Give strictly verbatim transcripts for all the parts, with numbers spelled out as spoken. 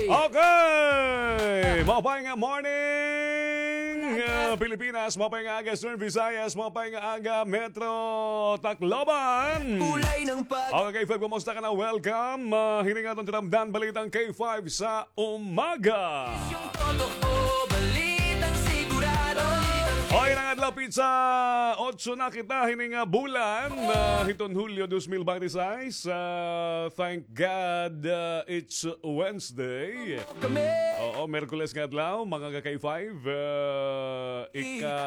Okay! Maupay nga morning, ah, Pilipinas. Maupay nga aga, Eastern Visayas. Maupay nga aga, Metro Tacloban. Kulay ng pag- Okay, K five, kumusta ka na? Welcome. Ah, hini nga aton tinamdan, Balitang K five sa umaga. Yung totoo, balitang sigurado. Oy, nga adlaw, pizza, otso na kita, hini nga bulan, ah, hiton Hulyo dos mil baynte sais. Ah, thank God, ah, it's Wednesday. Kami. Oo, Miyerkules nga adlaw, mga ka-K five. Ah, ika,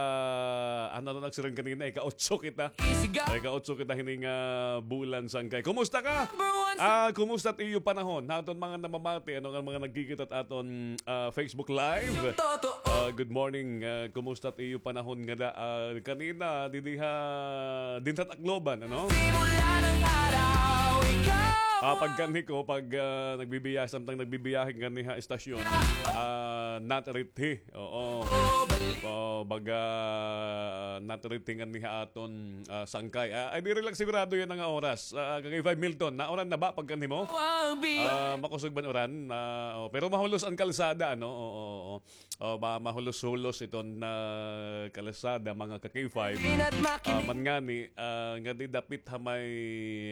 ano na nagsiring kanina, ika-otso kita. Isigaw. Ika-otso kita hini nga bulan, sangkay. Kumusta ka? Number one sa- Ah, kumusta it iyo panahon? Ha aton mga namamati, ano nga mga nagkikita it aton, ah, Facebook Live? Totoo. Ah, good morning. Ah, kumusta it iyo panahon ngada, ah, kanina, didi ha, dinhi ha Tacloban, ano? Simula ng araw, ikaw Ah, pagkanhi ko, pag, ah, nagbibiya-, samtang nagbibiyahe nganhi ha estasyon, ah, not ready. Oo. Oh, baga, not ready nganhi ha aton, ah, sangkay. Ah, ay, diri la sigurado yana nga oras. Ah, ka-K five Milton, nauran na ba pagkanhi mo? Ah, makusog ba an uran? Ah, oh, pero mahulos an kalsada, ano? Oo, oo, oo. Oh, ma-, mahulos-hulos iton, ah, kalsada, mga ka-K five. Ah, man ngani, ah, ngadi dapit ha may,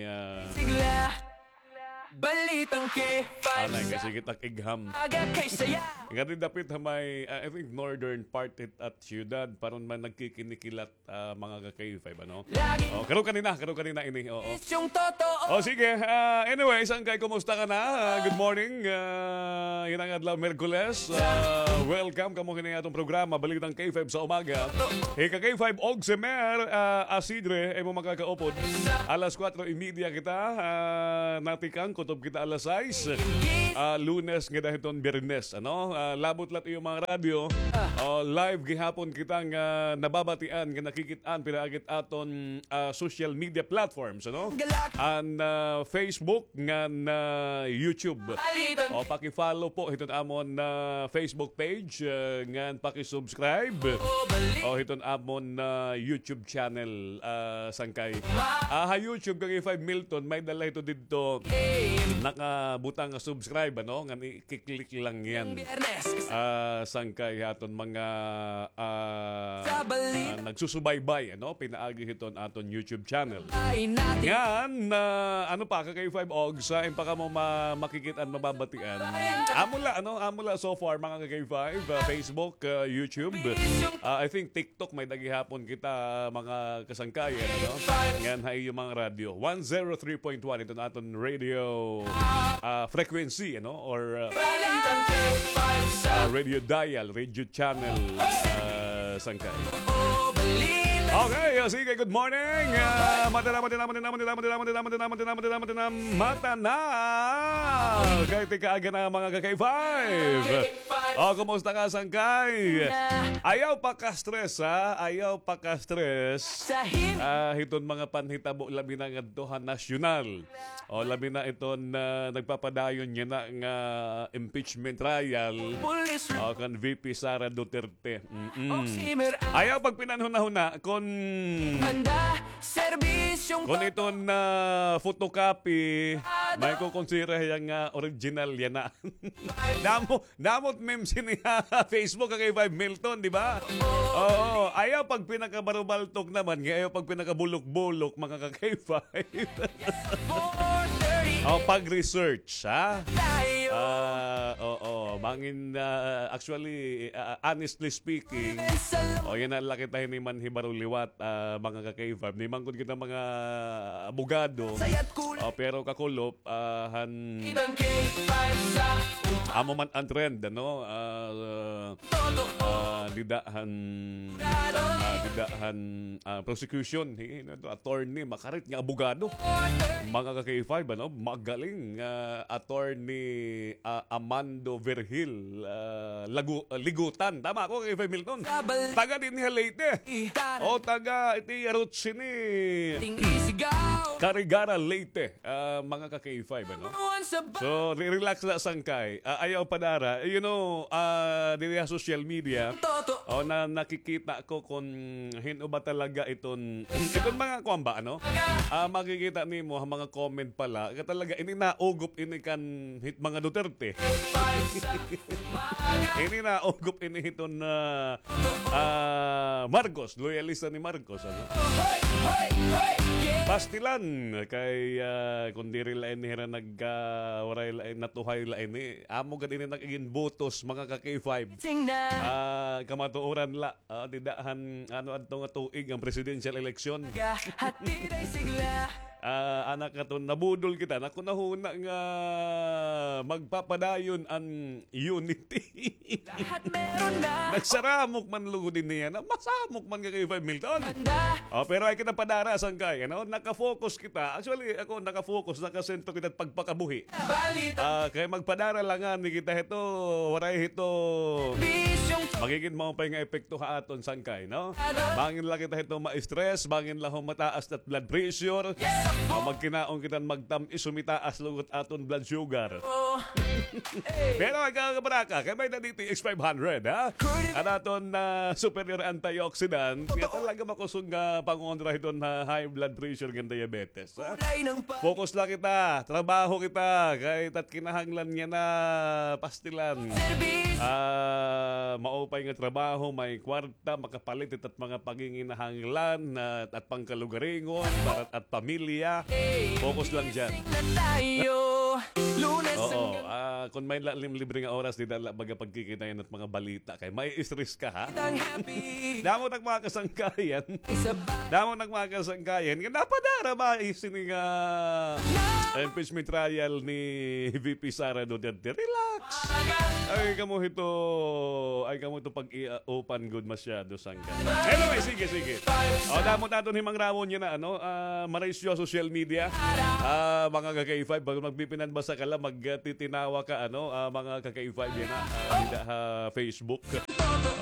ah, Sigla. Balitang K five. Anay, kay sige tak igham. Aga kay saya. Ngadi dapit ha may, ah, I think, northern part it at syudad, paron man nagkikinikilat, ah, mga ka-K five, ano? Lagi. Oh, karo kanina, karo kanina ini, oo. Is yung totoo. Oh, sige. Ah, anyway, sangkay, kumusta ka na? Ah, good morning. Ah, yana nga adlaw, Miyerkules. Ah, welcome kamo hini atong programa, Balitang K five sa umaga. Hi ka-K five, Ogsemer, ah, Asidre, imo makakaupod. Alas kwatro y media kita, ah, natikang, kutob kita alas sais. Ah, Lunes ngada hiton Biyernes, ano? Ah, labot la it iyo mga radyo. Ah, live gihapon kita nga nababatian, nga nakikit-an pinaagi it aton, ah, social media platforms, ano? An, ah, Facebook ngan YouTube. O, paki-follow po hiton amon, ah, Facebook page, ah, ngan paki-subscribe. O, hiton amon, ah, YouTube channel, ah, sangkay. Ah, ha YouTube, ka-K five Milton, may-ada la hito didto nakabutang nga subscribe, ano? Ngan i-click lang yana. Ah, sangkay ha aton mga, ah, ah, nagsusubaybay, ano? Pinaagi hiton aton YouTube channel. Ngan, ah, ano pa, ka-K five Ogs, ah, in pa kamo ma-, makikit-an, mababatian. Amo la, ano? Amo la so far, mga ka-K five, ah, Facebook, ah, YouTube. Ah, I think TikTok, may-ada gihapon kita, mga kasangkayan, ano? Ngan ha iyo mga radyo. One zero three point one, iton aton radio, ah, frequency, ano? Or, ah, ah, radio dial, radio channel, ah, sangkay. Okay, oh, sige, good morning. Ah, madala, madala, madala, madala, madala, madala, madala, madala, madala, madala, matana. Kay tika aga na, mga ka-K five. Oh, kumusta ka, sangkay? Ayaw paka-stress, ha? Ayaw paka-stress. Ah, hiton mga panhitabo, labi na ngadto ha nasyonal. O, labi na iton, ah, nagpapadayon yana nga impeachment trial. O, kan V P Sara Duterte. Mm-mm. Ayaw pagpinanhunahuna kon, kon iton, ah, photocopy, may kukonsidera hiya nga original yana. Damo, damo it memes ini ha Facebook, ka-K five Milton, di ba? Oo, ayaw pagpinakabarubaltok naman, nga ayaw pagpinakabulok-bulok, mga ka-K five. O, pag-research, ha? Ah, oo, mangin, ah, actually, ah, honestly speaking, o, yana la kita hini manhibaro liwat, ah, mga ka-K five. Di man gud kita mga abogado, o, pero kakulop, ah, han amo man an trend, ano? Ah, ah, dida han, ah, dida han, ah, prosecution, hi, ano to, attorney, makarit nga abogado. Mga ka-K five, ano? Magaling, ah, attorney, ah, Amando Virgil. Hill, ah, Lagu-, ah, Ligutan. Tama ako, K five Milton. Taga dinhi ha Leyte. O, taga iti Arutsini. Carigara, Leyte. Ah, mga ka K five, ano? So, re-, relax la sangkay. Ah, ayaw padara. You know, ah, diri ha social media, o, na nakikita ko kon hin-o ba talaga iton, iton mga kuan ba, ano? Ah, makikita nimo ha mga comment pala, ka talaga, ini naugop ini kan hit mga Duterte. Ini naugop ini hiton, ah, ah, Marcos, loyalista ni Marcos, ano? Pastilan kay, ah, kon diri la ini hira nag, ah, waray la ini, natuhay la ini. Amo gad ini nag-igin botos, mga ka K five. Ah, kamatuoran la. Ah, dida han, ano, adto nga tuig an presidential election. Ah, anak nga to, nabudol kita. Naku, nahuna nga magpapadayon an unity. Nagsaramok man lugod ini yana. Masamok man ka kay Five Milton. O, pero ay kita padara sangkay, ano? Naka-focus kita. Actually, ako, naka-focus, nakasentro kita pagpakabuhi. Ah, kay magpadara la ngani kita hito, waray hito magigin maupay nga epekto ha aton sangkay, no? Bangin la kita hito ma-stress, bangin la ho mataas it blood pressure. Ah, magkinaon kita magtam-is, humitaas lugod aton blood sugar. Pero ay ka, kabaraka, kay may-ada D T X five hundred, ha? An aton, ah, superior antioxidant, kaya talaga makusog nga pangontra hiton ha high blood pressure ngan diabetes. Focus la kita, trabaho kita, kay it at kinahanglan yana pastilan. Ah, maupay nga trabaho, may kwarta, makapalit it at mga panginginahanglan, ah, at pangkalugaringon, para at pamilya. Focus lang diyan. Oo, ah, kon may la-, lim-, libre nga oras, dida la baga pagkikitayan it mga balita, kay ma-stress ka, ha? Damo it mga kasangkayan. Damo it mga kasangkayan. Nga napadara ba, eh, sini nga, ah, impeachment trial ni V P Sara Duterte? Relax. Ay, kamo hito, ay, kamo hito pag-iupan gud masyado sangkay. Anyway, sige, sige. O, damo it aton himangrawon yana, ano, ah, maraysyo social media. Ah, mga ka K five, pag magpipinanbasa ka la, magtitinawa ka, ano, ah, mga ka K five yana, ah, dida ha Facebook.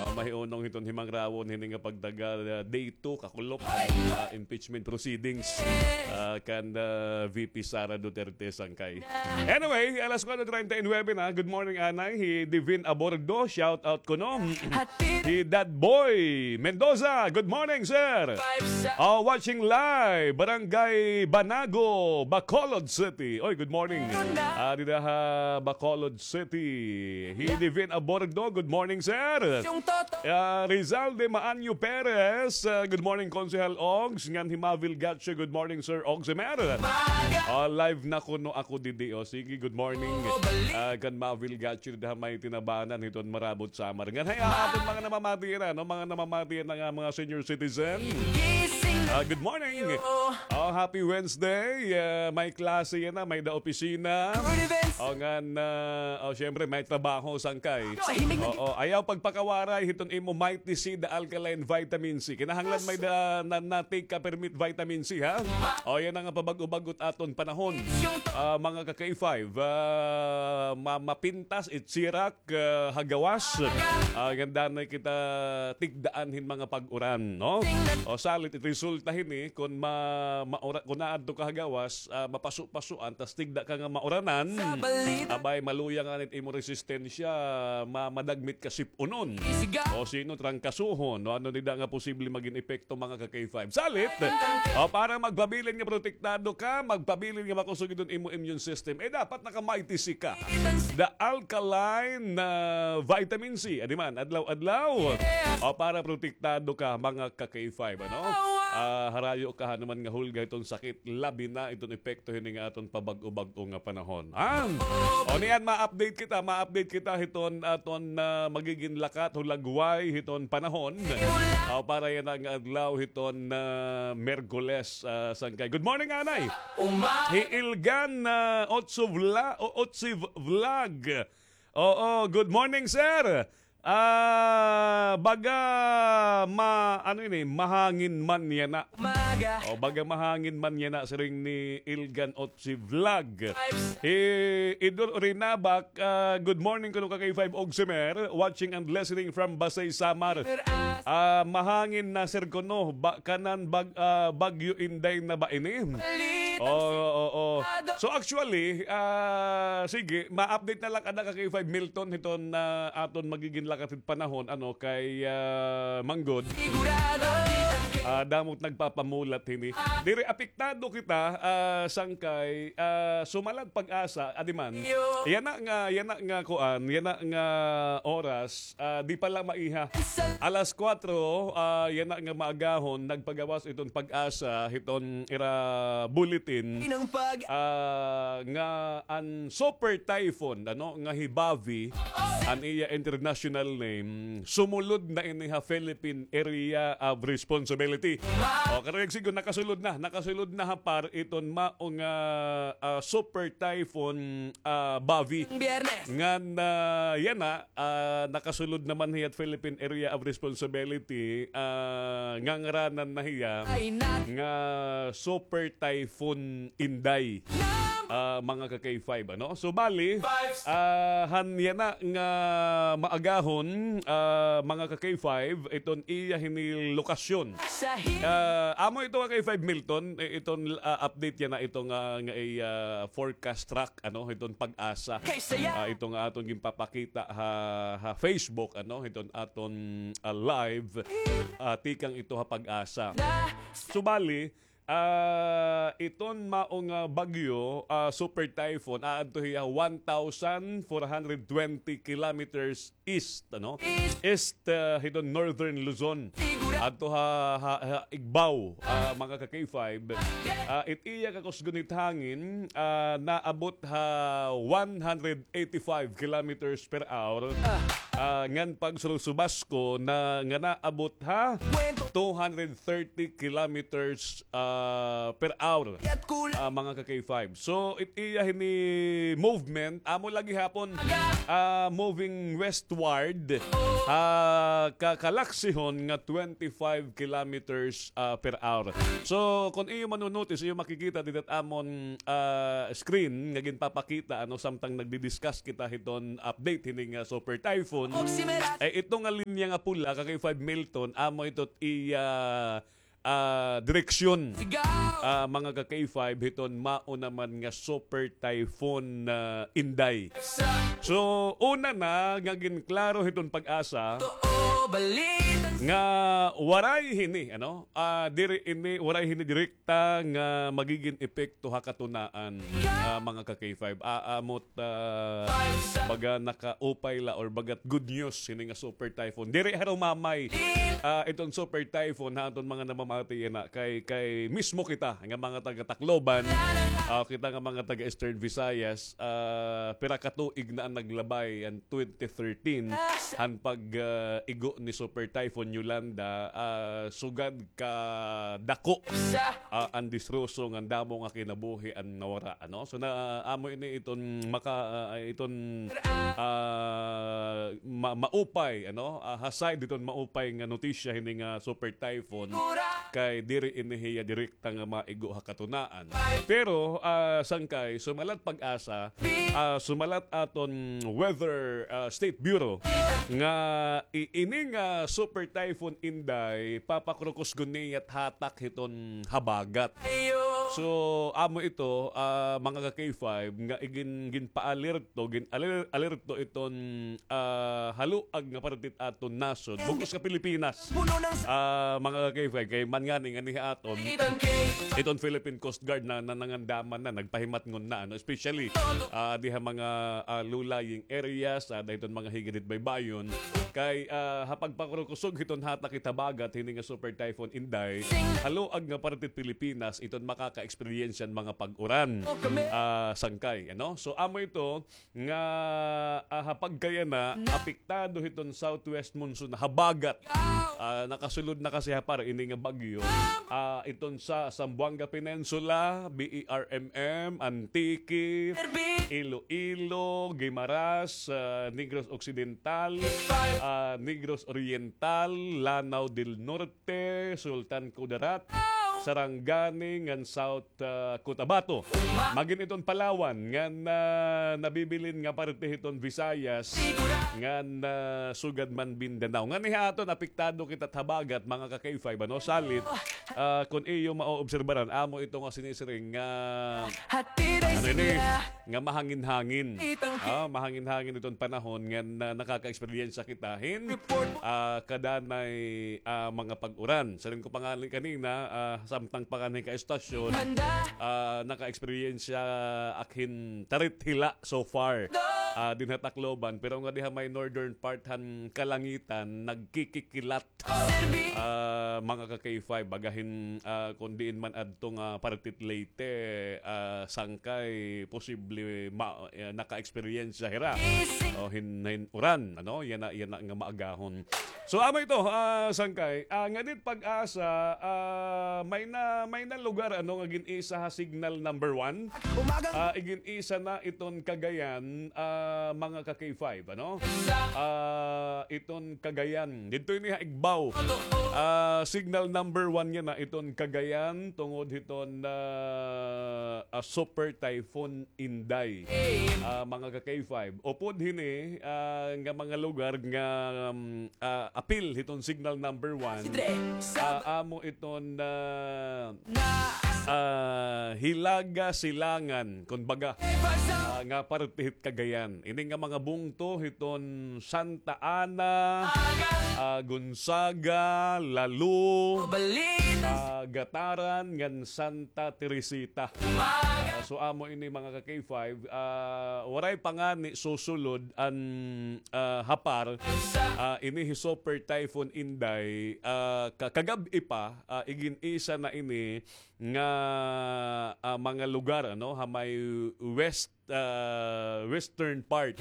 Ah, mahiunong hiton himangrawon hini nga pagtaga, ah, day two, kakulop, ah, impeachment proceedings, ah, kan, ah, V P Sara Duterte sangkay. Anyway, alas kuwatro treinta y nuebe na. Good morning, anay. Hi Divin Abordo, shout out kuno. Hi Dad Boy Mendoza, good morning, sir. Ah, watching live, Barangay Banago, Bacolod City. Oy, good morning. Ah, dida ha Bacolod City. Hi Divin Abordo, good morning, sir. Ah, Rizal de Maanyo Perez, ah, good morning, Konsehal Ogs. Ngan hi Mavil Gacho, good morning, Sir Ogs Emer. Ah, live na kuno ako didi, o. Sige, good morning. Ah, kan Mavil Gacho dida ha may Tinabanan hiton Marabot, Samar. Ngan hay, ah, aton mga namamati yana, no? Mga namamati yana nga mga senior citizen. Ah, good morning. Oh, happy Wednesday. Ah, may klase yana, may-ada opisina. O, ngan, ah, o, syempre, may trabaho, sangkay. Oo, ayaw pagpakawaray hiton imo Mighty C, the alkaline vitamin C. Kinahanglan may-ada na, na-take ka permi it vitamin C, ha? O, yana nga pabag-o-bag-o it aton panahon. Ah, mga ka K five, ah, ma-, mapintas, it sirak, ah, ha gawas. Ah, ngan danay kita tigdaan hin mga pag-uran, no? O, salit it resulta hini, kon ma-, maura-, kon naadto ka ha gawas, ah, mapaso-pasoan, tas tigda ka nga mauranan, abay, maluya ngani it imo resistensya, ma-, madagmit ka sip-unon. O sino, trangkasohon, no? Ano dida nga posible magin epekto, mga ka K five? Salit, o, para magpabilin nga protektado ka, magpabilin nga makusog iton imo immune system, eh, dapat naka-Mighty C ka. The alkaline, ah, vitamin C. Adi man, adlaw-adlaw. O, para protektado ka, mga ka K five, ano? Ah, harayo ka han man nga hulga hiton sakit, labi na iton epekto hini nga aton pabag-o-bag-o nga panahon. Ah! O, niyan, ma-update kita, ma-update kita hiton aton, ah, magigin lakat, hulagway hiton panahon. Ah, para yana nga adlaw hiton, ah, Miyerkules, ah, sangkay. Good morning, anay. Hi Ilgan, ah, Otso Vla-, o, Otsi V-, Vlog. Oo, good morning, sir. Ah, baga ma-, ano ini, mahangin man yana. O, baga mahangin man yana, siring ni Ilgan Otsi Vlog. Hi Idol Rinabak, ah, good morning kuno ka K five Ogsimer, watching and listening from Basey, Samar. Ah, mahangin na, sir, kuno, ba, kanan bag-, ah, Bagyo Inday na ba ini? Oo, oo. So, actually, ah, sige, ma-update na la kada ka K five Milton hiton, ah, aton magigin lakat hit panahon, ano, kay, ah, manggod. Ah, damo it nagpapamulat hini. Diri apektado kita, ah, sangkay, ah, sumalat PAGASA, adi man. Yana nga, yana nga kuan, yana nga oras, ah, di pa la maiha. Alas kuwatro, ah, yana nga maagahon, nagpagawas iton PAGASA hiton ira bulletin, ah, nga an super typhoon, ano, nga hi Bavi, an iya international name, sumulod na ini ha Philippine Area of Responsibility. O, karuyag sigon, nakasulod na, nakasulod na ha PAR iton mao nga, ah, super typhoon, ah, Bavi. Ngan, ah, yana, ah, nakasulod naman hiya hit Philippine Area of Responsibility, ah, ngangharanan na hiya nga Super Typhoon Inday, ah, mga ka K five, ano? So, bali, ah, han yana nga maagahon, ah, mga ka K five, iton iya hini lokasyon. Ah, amo ito ka K five Milton, eh, iton, ah, update yana ito nga, nga, eh, ah, forecast track, ano, iton PAGASA. Ah, ito nga aton ginpapakita ha, ha Facebook, ano, iton aton, ah, live, ah, tikang ito ha PAGASA. Subali, ah, iton mao nga bagyo, ah, super typhoon, aadto hiya one thousand four hundred twenty kilometers east, ano? East, ah, hiton northern Luzon. Adto ha, ha, ha Igbaw, ah, mga ka K five. Ah, it iya kakusgon hit hangin, ah, naabot ha one hundred eighty-five kilometers per hour. Ah, ngan pagsursubasko na nga naabot ha two hundred thirty kilometers, ah, per hour, ah, mga ka K five. So, it iya hini movement, amo la gihapon, ah, moving westward, ah, ka-, kalaksihon nga twenty-five kilometers, ah, per hour. So, kon iyo mano-notice, iyo makikita dida ha amon, ah, screen nga ginpapakita, ano, samtang nagdi-discuss kita hiton update hini nga super typhoon. Eh, ito nga linya nga pula, ka K five Milton, amo ito iya ah, direksyon, ah, mga ka K five, hiton mao naman nga super typhoon, ah, Inday. So, una na nga ginklaro hiton PAGASA nga waray hini, ano, ah, diri ini, waray hini direkta nga magigin epekto ha katunaan, ah, mga ka K five. Ah, amo ah, baga nakaupay la or baga't good news hini nga super typhoon. Diri harumamay, ah, iton super typhoon ha aton mga namamati yana kay, kay mismo kita nga mga taga Tacloban, ah, kita nga mga taga Eastern Visayas, ah, pira ka tuig na an naglabay, an twenty thirteen, han pag, ah, igo ni Super Typhoon Yolanda, ah, sugad ka dako, ah, an disruso ngan damo nga kinabuhi an nawara, ano? So, na, amo ini iton maka-, ah, iton, ah, ma-, maupay, ano? Ah, ha side iton maupay nga notisya hini nga super typhoon kay diri ini hiya direkta nga maigo ha katunaan. Pero, ah, sangkay, sumalat PAGASA, ah, sumalat aton Weather, ah, State Bureau nga i-, ini nga Super Typhoon Inday, papakrukos gud niya it hatak hiton habagat. So, amo ito, ah, mga ka K five, nga igin-, ginpa-alerto, gin-aler-, alerto iton, ah, haluag nga parte hit aton nasod, bug-os nga Pilipinas. Ah, mga ka K five, kay man ngani, ngani ha aton, iton Philippine Coast Guard na, na nangandaman na, nagpahimatngon na, ano, especially, ah, diha mga, ah, low-lying areas, ah, dayton mga higad hit baybayon, kay, ah, ha pagpakurkusog hiton hatak hit habagat hini nga Super Typhoon Inday, haluag nga parte hit Pilipinas, iton maka- ka-experience an mga pag-uran, ah, sangkay, ano? So, amo ito nga, ah, ha pagkayana, apektado hiton southwest monsoon, habagat. Ah, nakasulod na kasi ha par ini nga bagyo. Ah, iton sa Zamboanga Peninsula, B E R M M, Antique, Iloilo, Guimaras, ah, Negros Occidental, ah, Negros Oriental, Lanao del Norte, Sultan Kudarat, Sarangani, ngan South, ah, Cotabato. Magin iton Palawan, ngan, ah, nabibilin nga parte hiton Visayas, ngan, ah, sugad man Mindanao. Ngan iha aton apektado kita habagat, mga ka-K five, ano? Salit, ah, kun iyo maoobserbaran, amo ito nga sinisiring nga, ano ini? Nga mahangin-hangin. Ah, mahangin-hangin iton panahon ngan, ah, nakaka-eksperyensya kita hin, ah, kadanay, ah, mga pag-uran. Siring ko pa ngani kanina, ah, samtang pa ngani ka estasyon, ah, naka-eksperyensya ak hin tarit hila so far. Ah, dinha Tacloban, pero nga diha may northern part han kalangitan, nagkikikilat. Ah, mga ka-K five, baga hin, ah, kun diin man adto nga parte hit Leyte, ah, sangkay posible ma-, eh, naka-eksperyensya hira. O hin, hin uran, ano? Yana, yana nga maagahon. So, amo ito, ah, sangkay. Ah, nganhi it PAGASA, ah, may na, may na lugar, ano, nga gin-isa ha signal number one. Ah, igin-isa na iton Cagayan, ah, mga ka-K five, ano? Ah, iton Cagayan. Didto ini ha Igbaw. Ah, signal number one yana iton Cagayan tungod hiton, ah, ah, Super Typhoon Inday. Ah, mga ka-K five. Upod hini, ah, nga mga lugar nga, um, ah, apil hiton signal number one. Ah, amo iton, ah, ah, Hilaga Silangan, kun baga, ah, nga parte hit Cagayan. Ini nga mga bungto hiton Santa Ana, ah, Gonzaga, Lalu, ah, Gataran, ngan Santa Teresita. Ah, so amo ini mga ka-K five, ah, waray pa ngani susulod an, ah, hapar, ah, ini hi Super Typhoon Inday, ah, ka-, kagab-i pa, ah, igin-isa na ini nga, ah, mga lugar, ano, ha may west, ah, western part,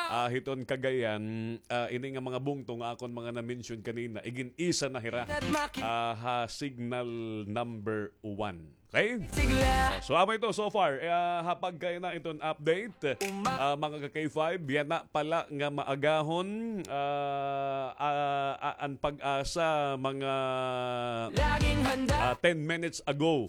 ah, hiton Cagayan, ah, ini nga mga bungto nga akon mga na-mention kanina, igin-isa na hira, ah, ha signal number one. Okay? So, amo ito so far, eh, ah, ha pagkayana iton update, ah, mga ka-K five, yana pala nga maagahon, ah, ah, ah, an PAGASA mga, ah, ten minutes ago.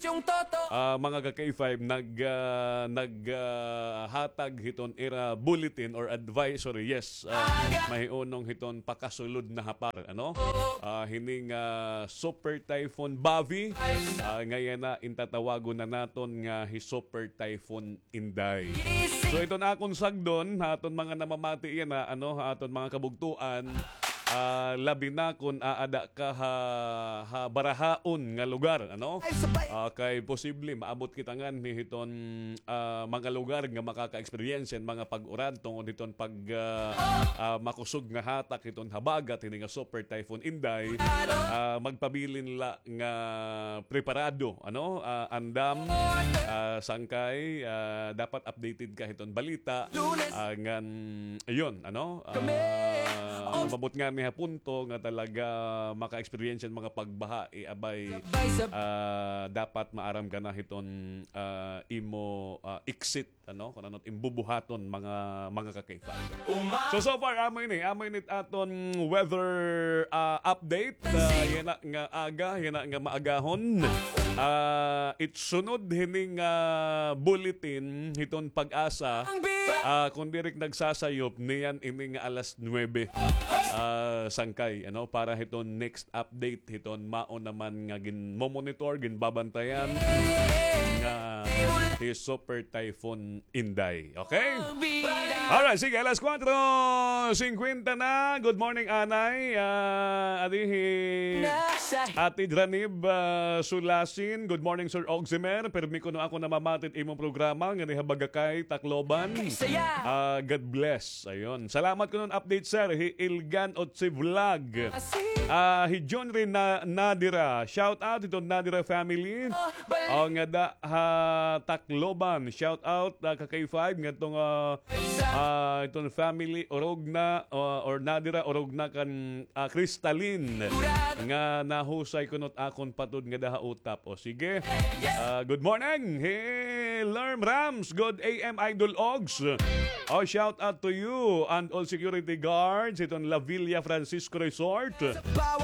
Ah, mga ka-K five, nag, ah, nag, ah, hatag hiton ira bulletin or advisory, yes, ah, mahiunong hiton pakasulod na hapar, ano? Ah, hini nga Super Typhoon Bavi, ah, nga yana in tatawagon na naton nga hi Super Typhoon Inday. So, iton akon sagdon ha aton mga namamati yana, ano, ha aton mga kabugtoan, ah, labi na kun aada ka ha, ha barahaon nga lugar, ano? Ah, kay posible maabot kita nganhi hiton, ah, mga lugar nga makaka-experience hin mga pag-uran tungod hiton pag, ah, ah, makusog nga hatak hiton habagat hini nga Super Typhoon Inday. Ah, magpabilin la nga preparado, ano, ah, andam, ah, sangkay, ah, dapat updated ka hiton balita, ah, ngan, ayun, ano, ah, umabot ngani ha punto nga talaga maka-experience hin mga pagbaha, eh, abay, ah, dapat maaram ka na hiton, ah, imo, ah, exit ano, kun ano it imbubuhaton, mga, mga ka-K five. So, so far, amo ini, amo ini it aton weather, ah, update. Ah, yana nga aga, yana nga maagahon. Ah, it sunod hini nga bulletin hiton PAGASA, ah, kun diri ak nagsasayop, niyan ini nga alas nuwebe, ah, sangkay, ano, para hiton next update hiton mao naman nga ginmomonitor, ginbabantayan nga hi Super Typhoon Inday. Okay? Alright, sige, alas kuwatro singkwenta na. Good morning, Anay. Ah, adi hi Ate Dranib, ah, Sulasin. Good morning, Sir Oximer. Pirmi kuno ako namamati it imo programa nganhi ha Bagakay, Tacloban. Ah, God bless. Ayun. Salamat kuno hin update, sir. Hi Ilga Otsi Vlog. Ah, hi John rin na, Nadira. Shout out ito Nadira family. O, ngada ha Tacloban. Shout out, ah, ka K five. Ngadto nga, ah, iton family, Orogna, ah, or Nadira, Orogna kan, ah, Crystalline. Nga nahusay kuno it akon patod ngada ha Utap. O, sige. Ah, good morning. Hey, Lerm Rams. Good A M, Idol Ogs. O, shout out to you and all security guards. Iton La Villa Francisco Resort.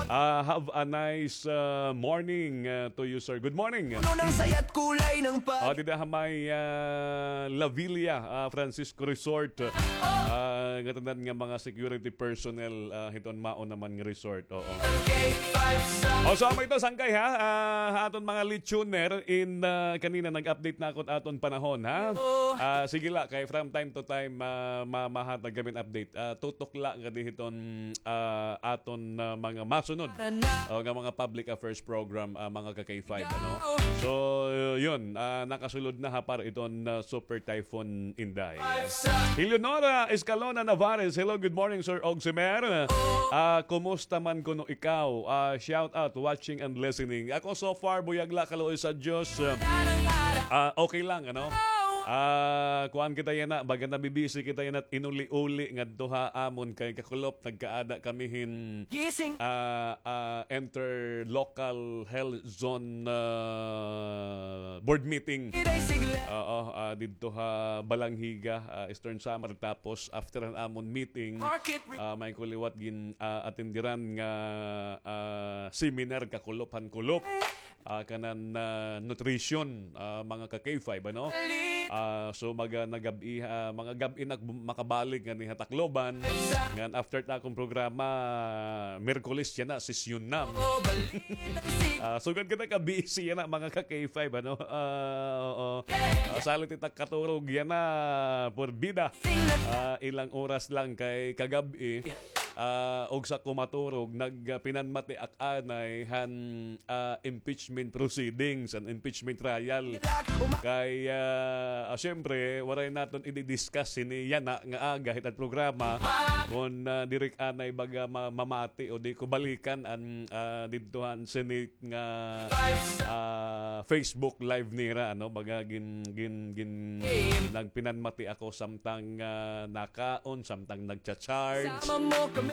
Ah, have a nice, ah, morning, ah, to you, sir. Good morning. Puno ng saya't kulay ng pag- O, dida ha may, ah, La Villa, ah, Francisco Resort. Ah, ngatanan nga mga security personnel, ah, hiton mao naman nga resort. Oo. O, so, amo ito, sangkay, ha? Ah, ha aton mga listener in, ah, kanina nag-update na ako aton panahon, ha? Ah, sige la, kay from time to time, ah, ma-, mahatag kami update. Ah, tutok la nga di hiton, ah, aton, ah, mga masunod. O, nga mga public affairs program, ah, mga ka K five, ano? So, yun, ah, nakasulod na ha para iton, ah, Super Typhoon Inday. Eleonora Escalona Navarez, hello, good morning, Sir Ogsimer. Ah, kumusta man kuno ikaw? Ah, shout out, watching and listening. Ako so far, buyag la, kaluoy sa Diyos. Ah, okay lang, ano? Ah, kuan kita yana, baga nabibisi kita yana, inuli-uli ngadto ha amon kay kakulop, nagkaada kami hin, ah, ah, interlocal health zone, ah, board meeting. Oo, ah, didto ha Balangiga, ah, Eastern Samar. Tapos, after han amon meeting, ah, may ko liwat gin, ah, atenderan nga, ah, seminar kakulop han kulop. Ah, kanan, ah, nutrition, ah, mga ka K five, ano? Ah, so, mga nagab-i, ah, mga gab-i na makabalik ngani ha Tacloban. Ngan after ta akon programa, Miyerkules yana, sesyon na. Ah, sugad kita ka busy yana, mga ka K five, ano? Ah, oo. Ah, salit ita katurog yana, porbida. Ah, ilang oras lang kay kagab-i. Ah, og sa ko maturog, nagpinanmati ak anay han, ah, impeachment proceedings, an impeachment trial. Kay, ah, ah, siyempre, waray naton i-discuss hini yana nga aga hit at programa kon, ah, diri ak anay baga ma-, mamati o di ko balikan an, ah, didto han Senate nga, ah, Facebook live nira, ano, baga gin-, gin-, gin-, nagpinanmati ako samtang, ah, nakaon, samtang nagcha-charge,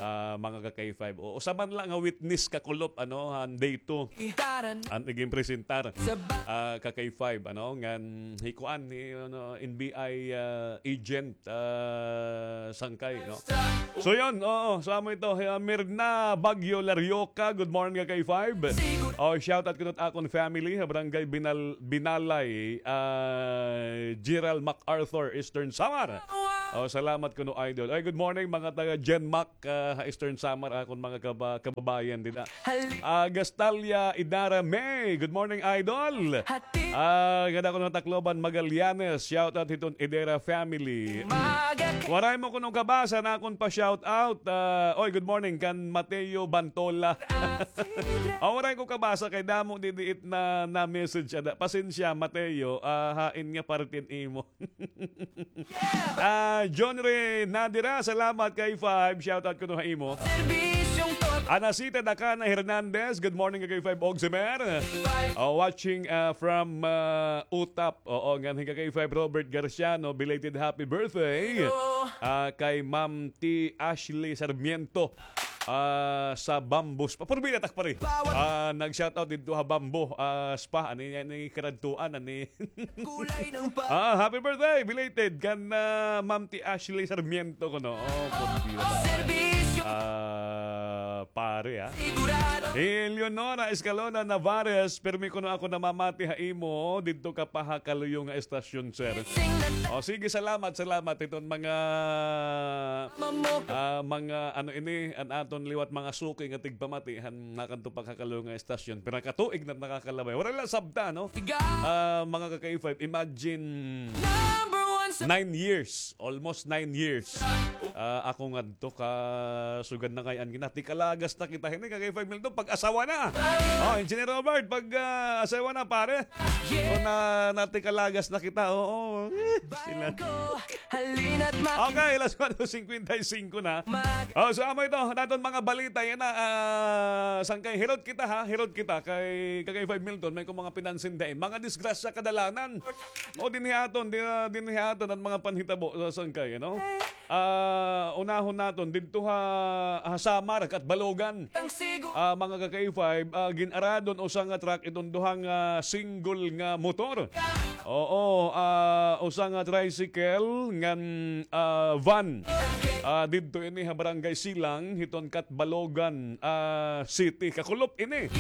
ah, mga ka K five. O, usa man la nga witness kakulop, ano, han day two. An igin presentar, ah, ka K five, ano, ngan hi kuan, hi, ano, N B I, ah, agent, ah, sangkay, no? So, yun, oo, so amo ito, ah, Mirna Bagyo Larioca, good morning, ka K five. O, shout out kuno it akon family, ha Barangay Binal-, Binalay, ah, Gerald MacArthur, Eastern Samar. O, salamat kuno, idol. Ay, good morning, mga taga Gen Mac, ah, ha Eastern Samar, akon mga kaba-, kababayan dida. Ah, Gastalia Idara May. Good morning, idol. Ah, ngada kuno ha Tacloban, Magallanes. Shout out hiton Idara family. Waray mo kuno kabasa na akon pa shout out. Ah, oy, good morning kan Mateo Bantola. Ah, waray ko kabasa kay damo didi it na, na message ada. Pasensya, Mateo. Ah, hain nga parte an imo. Ah, John Ray Nadira, salamat, K five. Shout out kuno ha imo. Anasita Dakana Hernandez, good morning, K five Ogsimer. Oh, watching, ah, from, ah, Utap. Oo, ngan hi K five Robert Garciano, belated happy birthday. Ah, kay Ma'am T Ashley Sarmiento. Ah, sa Bamboo Spa. Purbi na tak pare. Ah, nag-shoutout didto ha Bamboo, ah, Spa. Ani, ani karadtuan, ani. Ah, happy birthday, belated kan, ah, Ma'am T Ashley Sarmiento kuno. Oh, purbi na tak. Ah, pare, ah. Eleonora Escalona Navarez, pirmi kuno ako namamati ha imo didto ka pa ha kaluyo nga estasyon, sir. O, sige, salamat, salamat. Iton mga, ah, mga, ano ini, an aton liwat mga suki nga tigpamati, han nakadto pa ha kaluyo nga estasyon. Pira ka tuig na nakakalabay. Waray la sabta, no? Ah, mga ka K five, imagine, nine years. Almost nine years. Ah, ako ngadto ka sugad na kay an gina-, tikalagas na kita hini, ka K five Milton, pag-asawa na. Oh, Engineer Robert, pag, ah, asawa na, pare. Kung na, natikalagas na kita, oo. Eh, sila. Okay, alas kwatro singkwenta y singko na. Oh, so amo ito, naton mga balita yana, ah, sangkay, hirot kita ha, hirot kita kay, kay K five Milton, may ko mga pinansin din. Mga disgrasya kadalanan. O dinhi aton, di, ah, dinhi aton an mga panhitabo sa sangkay, ano? Ah, unahon naton didto ha, ha Samar, Catbalogan. Ah, mga ka-K five, ah, gin-aradon usa nga truck iton duha nga single nga motor. Oo, ah, usa nga tricycle ngan, ah, van. Ah, didto ini ha Barangay Silang, hiton Catbalogan, ah, City. Kakulop ini.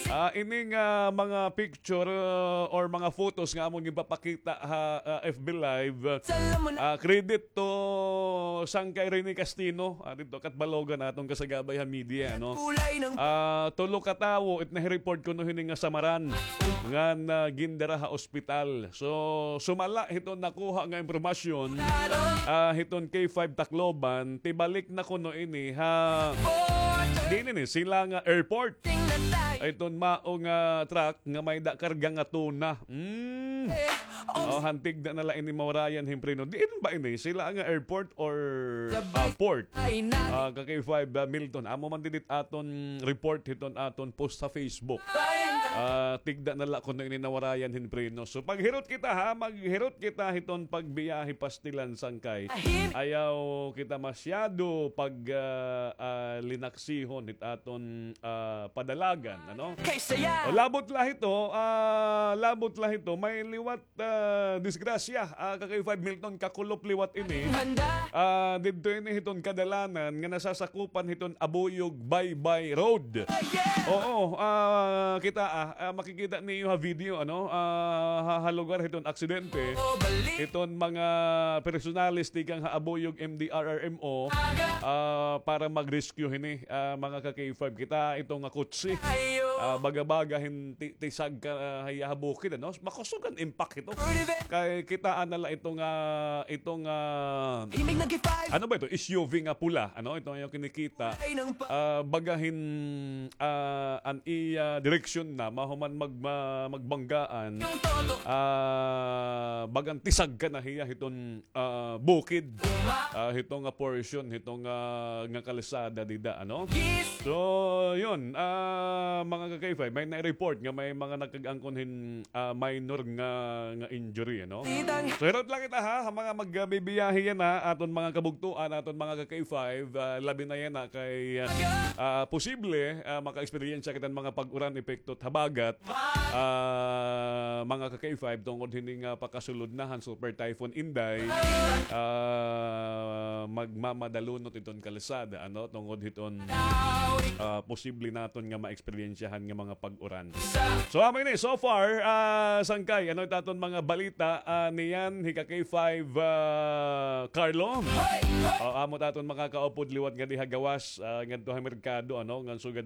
Ah, ini nga mga picture, uh, or mga photos nga amon ginpapakita ha, uh, F B Live. Ah, credit to Sangkay Rene Castino, ah, didto Catbalogan, aton kasagabay ha media, no? Ah, tulo ka tawo it nahi-report kuno hini nga samaran ngan, ah, gindara ha ospital. So, sumala hiton nakuha nga impormasyon, ah, hiton K five Tacloban, tibalik na kuno ini ha, diin ini, Silang nga airport. Iton mao nga truck nga may-ada karga nga tuna. Mm. Oh, han tigda na la ini mawarayan hin preno. Diin ba ini? Silang nga airport or, ah, port? Ah, ka K five, ah, Milton. Amo man didi it aton report hiton aton post sa Facebook. Ah, tigda na la kuno ini nawarayan hin preno. So, paghirot kita ha, maghirot kita hiton pagbiyahe pastilan sangkay. Ayaw kita masyado pag, ah, ah, linaksihon hit aton, ah, padalagan, ano? O, labot la hito, ah, labot la hito, may liwat, ah, disgrasya, ah, ka K five Milton, kakulop liwat ini. Ah, didto ini hiton kadalanan nga nasasakupan hiton Abuyog Baybay Road. Oo, ah, kita, ah, ah, makikita niyo ha video, ano, ah, ha, ha lugar hiton aksidente. Hiton mga personalis tikang ha Abuyog M D R R M O, ah, para mag-rescue hini, ah, mga ka K five. Kita ito nga kutsi. Ah, baga-baga hin ti-, tisag ka, ah, ha iya ha bukid, ano? Makusog an impact ito. Kay kita na la ito nga, ito nga, ano ba ito? S U V nga pula, ano? Ito nga iyo kinikita. Ah, baga hin, ah, an iya direksyon na mahuman mag-, ma-, magbanggaan. Ah, bagan tisag ka na hiya hiton, ah, bukid. Ah, hito nga portion, hito nga, nga kalsada dida, ano? So, yun, ah, mga ka K five, may na-report nga may mga nagkag-angkon hin, ah, minor nga, nga injury, ano? So, hirot lang kita, ha, ha mga magbibiyahe yana, aton mga kabugtoan, aton mga ka K five, ah, labi na yana kay, ah, posible, ah, maka-eksperyensya kita hin mga pag-uran epekto hit habagat, ah, mga ka K five, tungod hini nga pakasulod na han Super Typhoon Inday, ah, magmamadalunot iton kalsada, ano, tungod hiton, ah, posible naton nga ma-eksperyensyahan nga mga pag-uran. So, amo ini, so far, ah, sangkay, ano it aton mga balita, ah, niyan, hi ka K five, ah, Carlo? Ah, amo it aton makakaupod liwat ngadi ha gawas, ah, ngadto ha merkado, ano, ngan sugad